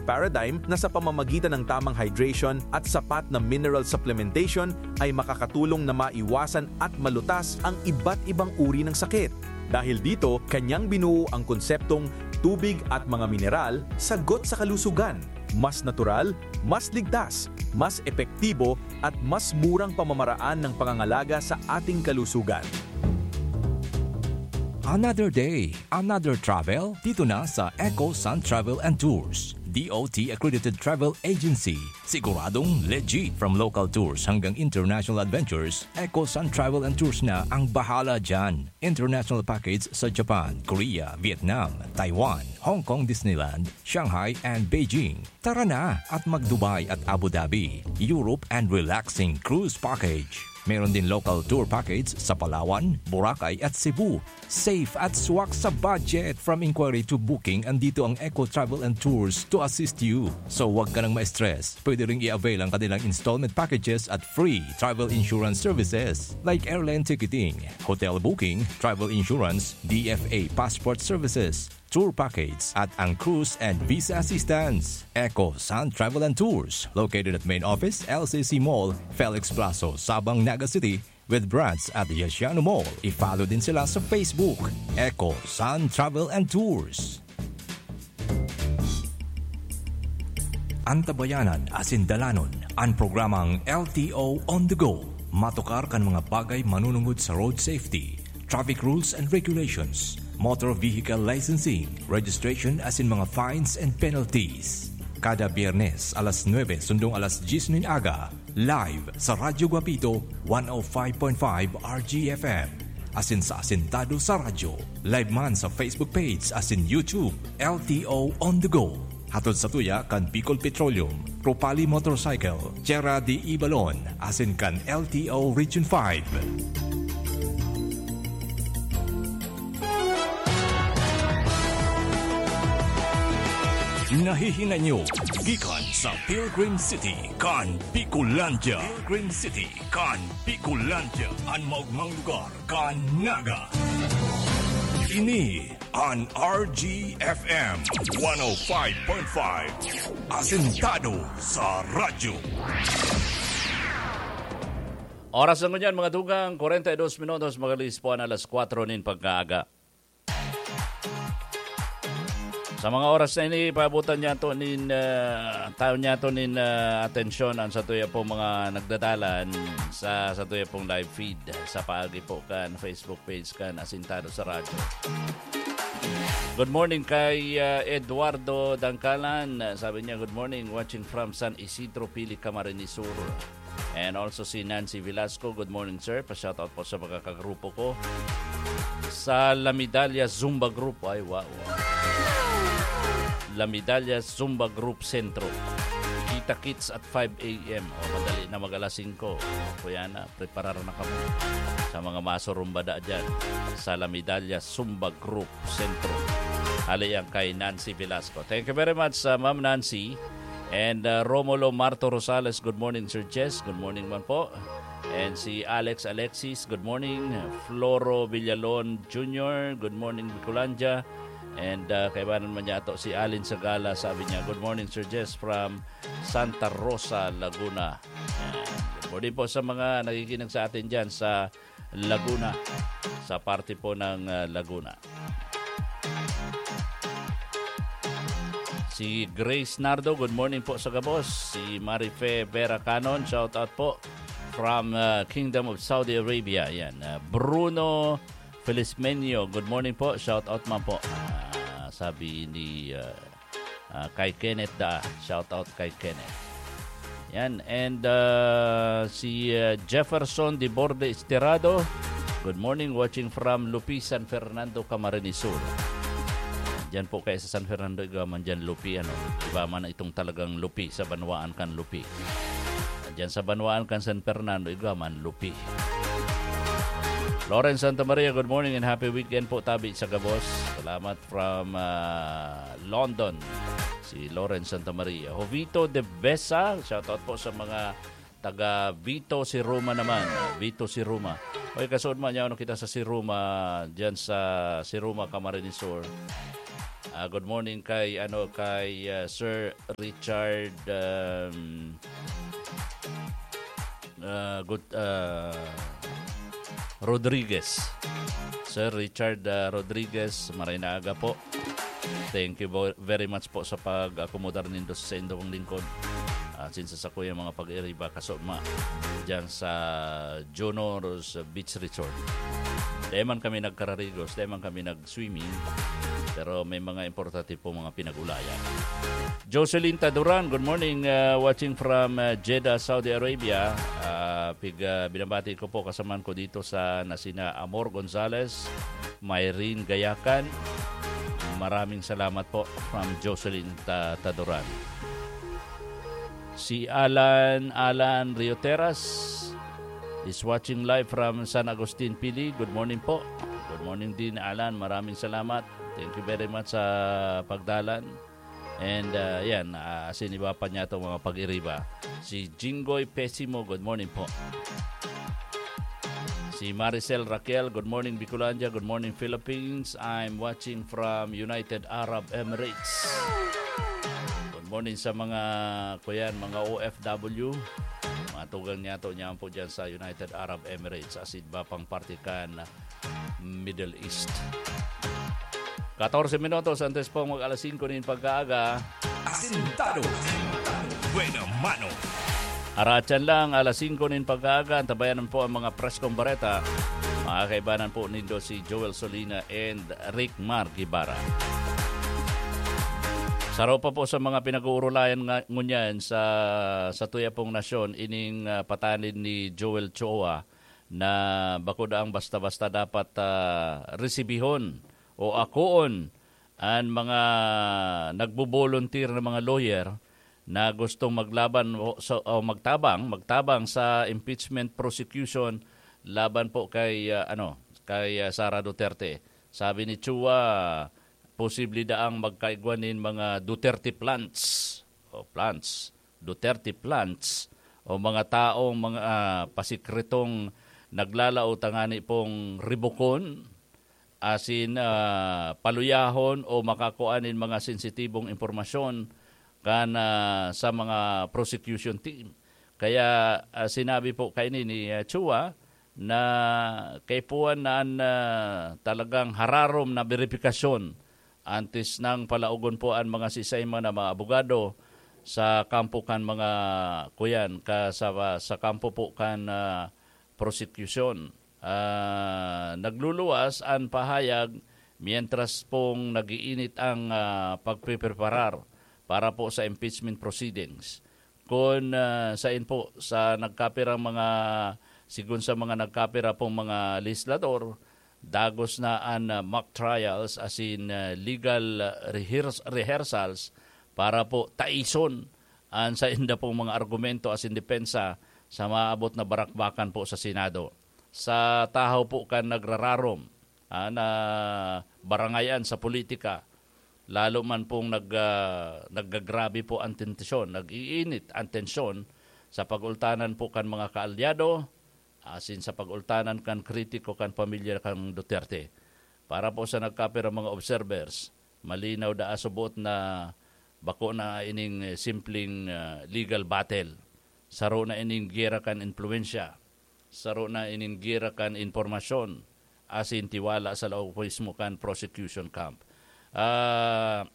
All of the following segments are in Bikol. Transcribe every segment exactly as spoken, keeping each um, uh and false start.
paradigm na sa pamamagitan ng tamang hydration at sapat na mineral supplementation ay makakatulong na maiwasan at malutas ang iba't ibang uri ng sakit. Dahil dito, kanyang binuo ang konseptong tubig at mga mineral, sagot sa kalusugan. Mas natural, mas ligtas, mas epektibo, at mas murang pamamaraan ng pangangalaga sa ating kalusugan. Another day, another travel, dito na sa Eco Sun Travel and Tours, D O T accredited travel agency. Siguradong legit. From local tours hanggang international adventures, Eco Sun Travel and Tours na ang bahala dyan. International package sa Japan, Korea, Vietnam, Taiwan, Hong Kong Disneyland, Shanghai and Beijing. Tara na at mag-Dubai at Abu Dhabi, Europe and relaxing cruise package. Meron din local tour package sa Palawan, Boracay at Cebu. Safe at swak sa budget. From inquiry to booking, andito ang Eco Travel and Tours to assist you. So, wag ka nang ma-stress. Pwede ring i-avail ang kanilang installment packages at free travel insurance services like airline ticketing, hotel booking, travel insurance, D F A passport services, tour package at ang cruise and visa assistance. Eco Sun Travel and Tours, located at main office, L C C Mall, Felix Plazo, Sabang, Naga City, with branch at Yasiano Mall. I-follow din sila sa Facebook, Eco Sun Travel and Tours. Antabayanan asin dalanon an programang L T O on the go. Matukar kan mga bagay manunungod sa road safety, traffic rules and regulations, motor vehicle licensing, registration asin mga fines and penalties. Kada Biyernes, alas nuebe sundong alas dyes nin aga, live sa Radyo Guapito, one oh five point five R G F M. Asin sa Asintado sa Radyo. Live man sa Facebook page asin YouTube, L T O On The Go. Hatod sa tuya kan Bicol Petroleum, Propali Motorcycle, Tierra de Ibalon, asin kan L T O Region five. Nahihinay nyo gikan sa Pilgrim City kan Bicolandia. Pilgrim City kan Bicolandia, an maogmang lugar kan Naga. Ini an R G F M one oh five point five, Asintado sa Radyo. Oras na ngunyan, mga dugang, kwarenta y dos minutos, magalis po an alas kwatro nin pagkaaga. Sa mga oras na ini, paabotan niyato nin, ah, taon niyato nin, ah, atensyon an satuya pong mga nagdadalan sa satuya pong live feed sa paagi po kan Facebook page kan Asintado sa Radyo. Good morning kay, ah, Eduardo Dangkalan. Sabi niya, "Good morning, watching from San Isidro, Pili, Camarines Sur." And also si Nancy Velasco, "Good morning, sir." Pa-shoutout po sa mga kagrupo ko. Sa La Medalla Zumba Group, ay, wow. La Medalla Zumba Group Centro. Kita-kits at five a m. O, madali na mag-alas singko. Kuya na, preparar na kamo sa mga masurumbada dyan sa La Medalla Zumba Group Centro. Hali yan kay Nancy Velasco. Thank you very much, uh, Ma'am Nancy. And, uh, Romulo Marto Rosales, "Good morning, Sir Jess." Good morning man po. And si Alex Alexis, "Good morning." Floro Villalon Junior, "Good morning, Bicolandia." And, uh, kaibanan man niya ato, si Alin Sagala, sabi niya, "Good morning, Sir Jess, from Santa Rosa, Laguna." Ayan. Good morning po sa mga nakikinig sa atin dyan sa Laguna, sa parte po ng, ah, Laguna. Si Grace Nardo, "Good morning po sa gabos." Si Marife Vera Canon, shout out po from, ah, Kingdom of Saudi Arabia. Yan, ah, Bruno Felizmenio, "Good morning po, shout out man po." Ah, sabi ni, ah, Ah, kay Kenneth Daa. Shout out kay Kenneth. Yan. And, ah, si, ah, Jefferson de Borde Esterado, "Good morning, watching from Lupi, San Fernando, Camarines Sur." Diyan po kayo sa San Fernando, igwa man diyan Lupi, ano? Iba man itong talagang Lupi sa banwaan kan Lupi. Diyan sa banwaan kan San Fernando, igwa man Lupi. Lawrence Santa Maria, "Good morning and happy weekend po, tabi sa gabos." Salamat from, ah, London, si Lawrence Santa Maria. Jovito de Besa, shoutout po sa mga taga Vito, Siruma naman. Vito, Siruma. Oy, kasuod man niya, ano, kita sa Siruma, diyan sa Siruma, Camarines Sur. Ah, good morning kay, ano, kay, ah, Sir Richard, um, ah, good, ah, Rodriguez. Sir Richard, ah, Rodriguez, maray na aga po. Thank you vo-, very much po sa pag-akomodar nindo sa indong lingkod. At since sa sakuyang mga pag-iriba, kasoma dyan sa Junoros Beach Resort. Di man kami nagkararigos, di man kami nag-swimming, pero may mga importante po mga pinag-ulayan. Jocelyn Taduran, good morning, uh, watching from, uh, Jeddah, Saudi Arabia. Uh, pig, uh, binabati ko po kasaman ko dito sa nasina Amor Gonzales, Myrene Gayacan. Maraming salamat po from Jocelyn Ta-, Taduran. Si Alan, Alan Rioteras is watching live from San Agustin, Pili. Good morning po. Good morning din, Alan. Maraming salamat. Thank you very much sa pagdalan. And, uh, yan, uh, asin iba pa niya itong mga pag-iriba. Si Jinggoy Pesimo, good morning po. Si Maricel Raquel, good morning, Bicolandia. Good morning, Philippines. I'm watching from United Arab Emirates. Good morning sa mga, kuyan, mga O F W. Mga tugang niya to, niyan po dyan sa United Arab Emirates. Asin iba pang parte kan Middle East. Katorse minutos antes po mag alas singko nin pagkaaga. Asintado. Buena mano. Aratyan lang, alas singko nin pagkaaga, antabayan po ang mga preskong bareta. Mga kaibanan po nindo si Joel Solina and Rick Mar Guevara. Saro pa po sa mga pinag-uurulayan nga, ngunyan sa, sa tuya pong nasyon, ining, ah, patanid ni Joel Chua na bako daang basta-basta dapat, ah, resibihon o akoon an mga nagbo-volunteer na mga lawyer na gustong maglaban o, sa, o magtabang, magtabang sa impeachment prosecution laban po kay, ah, ano, kay, ah, Sara Duterte. Sabi ni Chua, posible daang magkaigwa nin mga Duterte plants o plants, Duterte plants o mga taong mga, ah, pasikretong naglalao tangani pong ribukon, asin, ah, paluyahon o makakua nin mga sensitibong impormasyon kan, ah, sa mga prosecution team. Kaya, ah, sinabi po kaini ni, ah, Chua na kaipuhan na an, ah, talagang hararom na beripikasyon antes nang palaogon po an mga sisay man na mga abogado sa kampo kan mga, kuyan, ka, sa, sa kampo po kan, ah, prosecution. Ah, nagluluwas an pahayag mientras pong nag-iinit ang, ah, pagpepreparar para po sa impeachment proceedings. Kun, ah, sain po, sa nagkapirang mga, sigon sa mga nagkapira pong mga legislador, dagos na an, ah, mock trials asin, ah, legal, ah, rehears-, rehearsals para po taison an sainda pong mga argumento asin depensa sa maabot na barakbakan po sa Senado. Sa tahaw po kan nagrararom, ah, na barangayan sa politika, lalo man pong nag-, ah, naggagrabe po ang tensyon, nag-iinit ang tensyon sa pag-ultanan po kan mga kaalyado, asin sa pag-ultanan kan kritiko kan pamilya kan Duterte. Para po sa nagkapirang mga observers, malinaw daa subot na bako na ining, eh, simpleng, ah, legal battle. Saro na ining giyera kan impluwensya. Saro na ining giyera kan impormasyon asin tiwala sa laog mismo kan prosecution camp. Ah,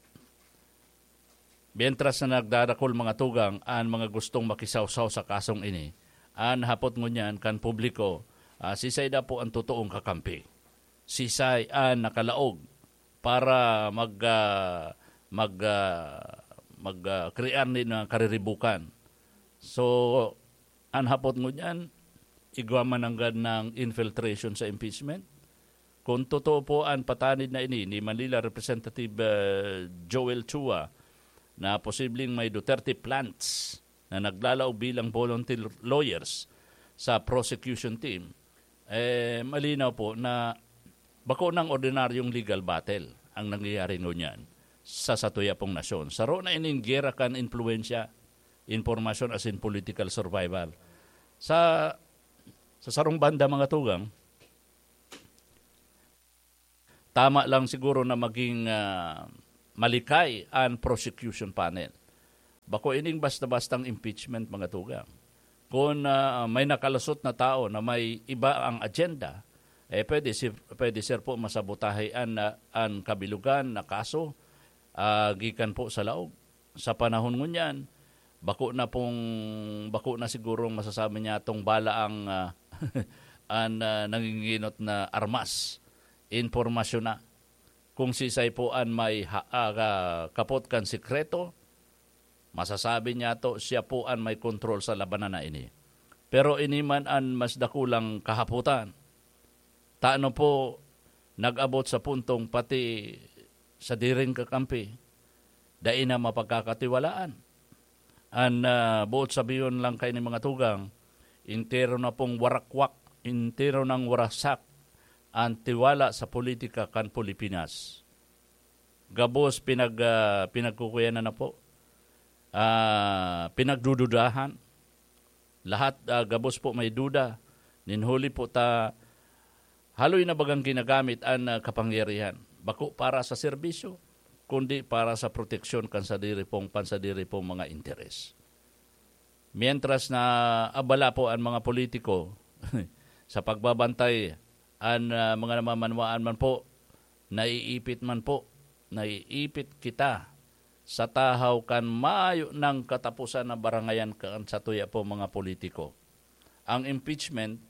mientras na nagdadakul mga tugang an mga gustong makisawsaw sa kasong ini, an hapot ngunyan kan publiko, ah, sisay da po an totoong kakampi? Sisay an nakalaog para mag, ah, mag, ah, mag, ah, krear nin, ah, kariribukan? So, an hapot ngunyan, igwa man nanggad ng infiltration sa impeachment? Kung totoo po an patanid na ini ni Manila Representative, ah, Joel Chua na posibleng may Duterte plants na naglalaog bilang volunteer lawyers sa prosecution team, eh, malinaw po na bako nang ordinaryong legal battle ang nangyayari ngunyan sa satuya pong nasyon. Saro na ining giyera kan impluwensya, impormasyon asin political survival. Sa, sa sarong banda, mga tugang, tama lang siguro na maging, ah, malikay an prosecution panel. Bako ining basta-bastang impeachment, mga tugang. Kun, ah, may nakalusot na tao na may iba ang agenda, eh, pwede si, pwede, sir, po masabotahe an, ah, an kabilugan na kaso, ah, gikan po sa laog. Sa panahon ngunyan, bako na pong, bako na sigurong masasabi niya tong bala ang, ah, an, ah, nanginginot na armas, impormasyon na. Kung sisay po an may ha-, ah, ka-, kapot kan sikreto, masasabi niya to, siya po an may kontrol sa labanan na ini. Pero ini man an mas dakulang kahapotan. Tano po nag-abot sa puntong pati sa diring kakampi, dai na mapagkakatiwalaan. An, ah, boot sabihon lang kay ni mga tugang, entero na pong warakwak, entero nang warasak an tiwala sa politika kan Pilipinas. Gabos pinag-, ah, pinagkukuyanan na po. Ah, pinagdududahan. Lahat, ah, gabos po may duda. Nin huli po ta, haloy na bagang ginagamit an, ah, kapangyarihan. Bako para sa serbisyo, kundi para sa proteksyon kan sadiri pong, pansadiri pong mga interes. Mientras na abala po an mga politiko sa pagbabantay, an, ah, mga namamanwaan man po, naiipit man po, naiipit kita sa tahaw kan mayo nang katapusan na barangayan kan satuya po mga politiko. Ang impeachment,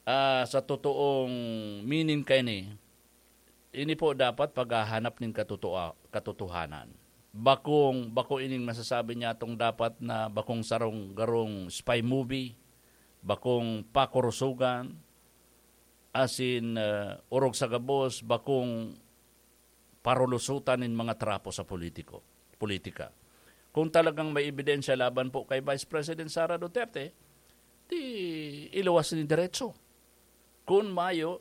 ah, sa totoong meaning kaini, ini po dapat paghahanap nin katotoa-, katotohanan. Bakong, bako ining masasabi niya tong dapat na bakong sarong garong spy movie, bakong pakurusogan, asin, ah, orog sa gabos, bakong parulusotan nin mga trapo sa politiko, politika. Kung talagang may ebidensya laban po kay Vice President Sara Duterte, di iluwas nin diretso. Kun mayo,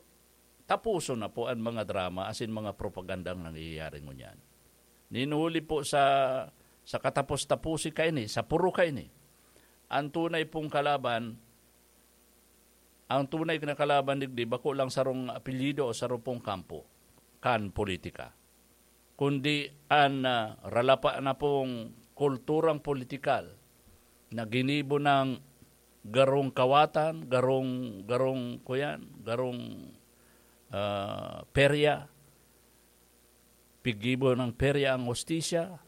tapuson na po an mga drama asin mga propagandang nangyayari ngunyan. Nin huli po sa, sa katapos-tapusi kaini, sa puro kaini, an tunay pong kalaban, ang tunay na kalaban digdi, bako lang sarong apelyido o sarong pong kampo kan politika, kundi an, ah, ralapa na pong kulturang politikal na ginibo ng garong kawatan, garong, garong, kuyan, garong, ah, perya, piggibo ng perya ang hustisya,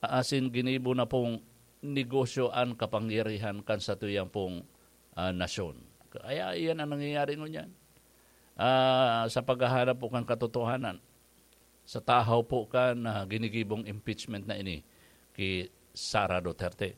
asin ginibo na pong negosyo an kapangyarihan kan satuyang pong, ah, nasyon. Kaya iyan ang nangyayari ngunyan. Ah, sa paghahanap po kan katotohanan, sa tahaw po kan, ah, ginigibong impeachment na ini ki Sara Duterte.